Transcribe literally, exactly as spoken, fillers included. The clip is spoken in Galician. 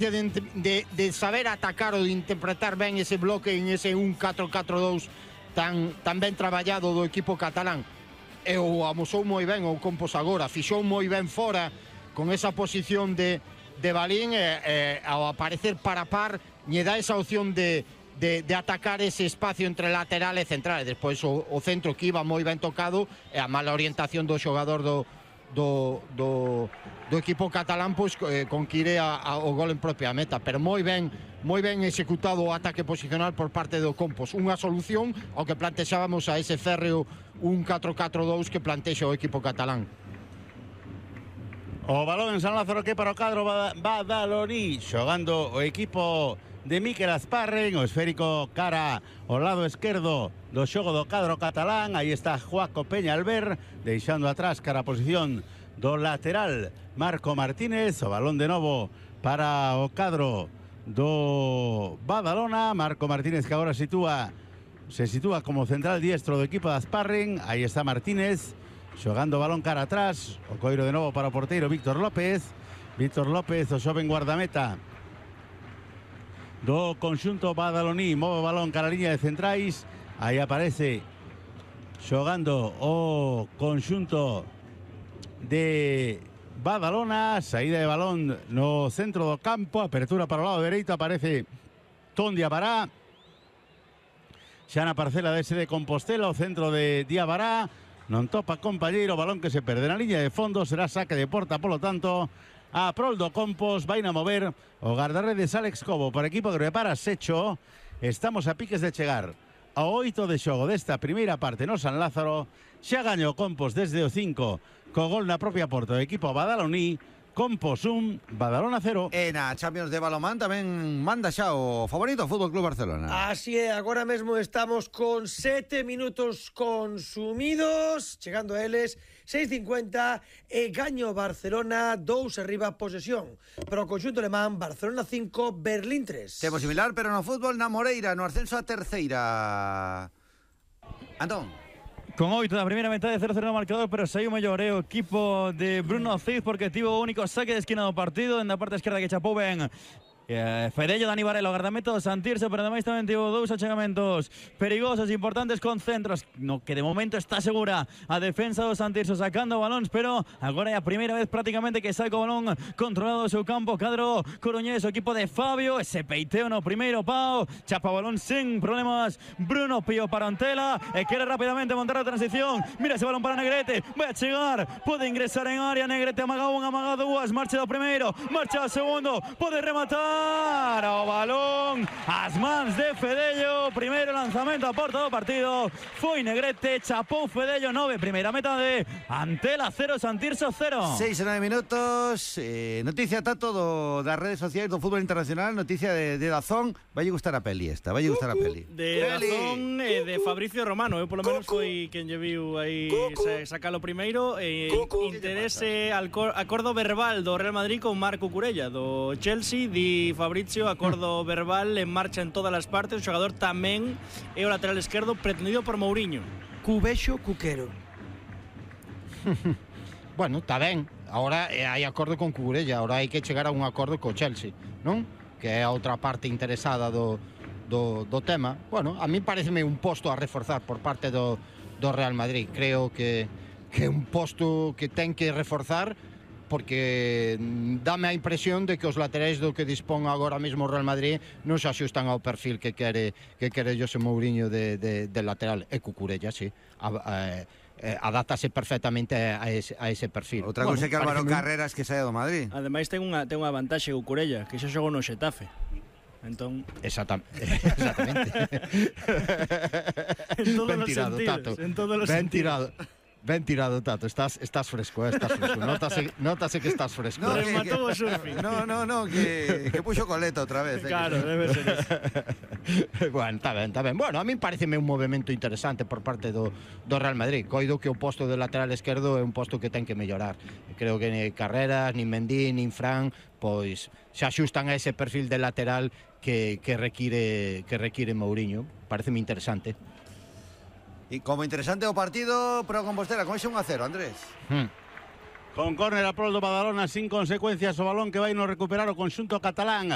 De, de, de saber atacar ou de interpretar ben ese bloque en ese un catro catro dous tan, tan ben traballado do equipo catalán, e o amosou moi ben o Compos agora, fixou moi ben fora con esa posición de, de Balín, e, e ao aparecer para par lle dá esa opción de, de, de atacar ese espacio entre lateral e central, e despois o, o centro que iba moi ben tocado e a mala orientación do xogador do Do, do, do equipo catalán, pois eh, conquire a, a, o gol en propia meta, pero moi ben moi ben executado o ataque posicional por parte do Compos, unha solución ao que plantexábamos a ese férreo un catro catro dous que plantexa o equipo catalán. O balón en San Lázaro que para o cadro Badaloní, xogando o equipo de Mikel Asparren, o esférico cara ao lado esquerdo do xogo do cadro catalán. Aí está Joaco Peñalver, deixando atrás cara a posición do lateral Marco Martínez. O balón de novo para o cadro do Badalona. Marco Martínez que agora sitúa se sitúa como central diestro do equipo de Asparren. Aí está Martínez xogando o balón cara atrás. O coiro de novo para o porteiro Víctor López. Víctor López, o xoven guardameta do conxunto Badaloní, move o balón cara a liña de centrais. Aí aparece xogando o conxunto de Badalona, saída de balón no centro do campo, apertura para o lado dereito, aparece Ton Diabará, xa na parcela dese de Compostela, o centro de Diabará, non topa compañeiro, balón que se perde na liña de fondo, será saque de porta, polo tanto a prol do Compos, vai a mover o guardarredes Alex Cobo para equipo que prepara Secho. Estamos a piques de chegar ao oito de xogo desta primeira parte no San Lázaro. Xa gañou Compos desde o cinco co gol na propia porta do equipo Badaloní. Compos un, Badalona cero. E na Champions de balonmán tamén manda xa o favorito Fútbol Club Barcelona. Así é, agora mesmo estamos con sete minutos consumidos, chegando a eles seis cincuenta e gaño Barcelona dous arriba posesión. Pero o conxunto alemán, Barcelona cinco, Berlín tres. Temos similar, pero no fútbol na Moreira, no ascenso a terceira. Antón. Con oito da primeira metade, cero cero no marcador, pero saiu mellor o equipo de Bruno Cid porque tivo o único saque de esquina do partido en da parte esquerda que chapou ben Eh, Fedello, Dani Varela, o guardameta do Santirso, pero ademais tamén tivo dous achegamentos perigosos, importantes con centros, no que de momento está segura a defensa do Santirso sacando balóns, pero agora é a primeira vez prácticamente que saca o balón controlado do seu campo cadro coruñés, o equipo de Fabio, ese peiteo no primeiro pau, chapa o balón sin problemas Bruno Pío para Antela e quere rapidamente montar a transición, mira ese balón para Negrete, vai a chegar, pode ingresar en área, Negrete amagado un, amagado dúas, marcha do primeiro, marcha do segundo, pode rematar o balón as mans de Fedello, primeiro lanzamento a porta do partido, foi Negrete, chapou Fedello, nove, primeira metade, Antela cero, Santirso cero. seis e nove minutos, eh, noticia tanto do, das redes sociais do fútbol internacional, noticia de, de Dazón, vai gustar a peli esta, vai gustar a peli. De Dazón e eh, de Fabricio Romano, eu polo menos foi quen lle viu aí sacalo primeiro, e eh, interese al acordo verbal do Real Madrid con Marco Curella do Chelsea, di Fabrizio, acordo verbal en marcha en todas as partes, o xogador tamén é o lateral esquerdo pretendido por Mourinho. Cubexo Cuquero. Bueno, está ben, agora eh, hai acordo con Cucurella, agora hai que chegar a un acordo co Chelsea, non? Que é a outra parte interesada do, do, do tema. Bueno, a mí pareceme un posto a reforzar por parte do, do Real Madrid. Creo que que é un posto que ten que reforzar, porque dame a impresión de que os laterais do que dispón agora mesmo o Real Madrid non se axustan ao perfil que quere que quere José Mourinho de, de, de lateral. E Cucurella, sí, a, a, a, adaptase perfectamente a ese, a ese perfil. Outra cousa bueno, que Álvaro Carreras que saia do Madrid. Ademais ten unha, ten unha vantaxe Cucurella, que xa xogou no Xetafe. Entón, Exactam exactamente. en todos ben os tirado, sentidos, Tato. en todos os ben sentidos. tirado. Ben tirado, Tato, estás, estás fresco, eh? Estás fresco. Nótase, nótase que estás fresco. No, que, matou o surfing. No, no, no, que, que puxo coleta outra vez. Claro, eh, debe ser eso. Bueno, está ben, está ben. Bueno, a mí pareceme un movimento interesante por parte do, do Real Madrid. Coido que o posto de lateral esquerdo é un posto que ten que mellorar. Creo que ni Carreras, ni Mendy, ni Fran, pois se axustan a ese perfil de lateral que, que require que require Mourinho. Pareceme interesante. E como interesante o partido pro Compostela, con ese un a cero, Andrés. Hmm. Con córner a prol do Badalona sin consecuencias o balón que vai no recuperar o conxunto catalán.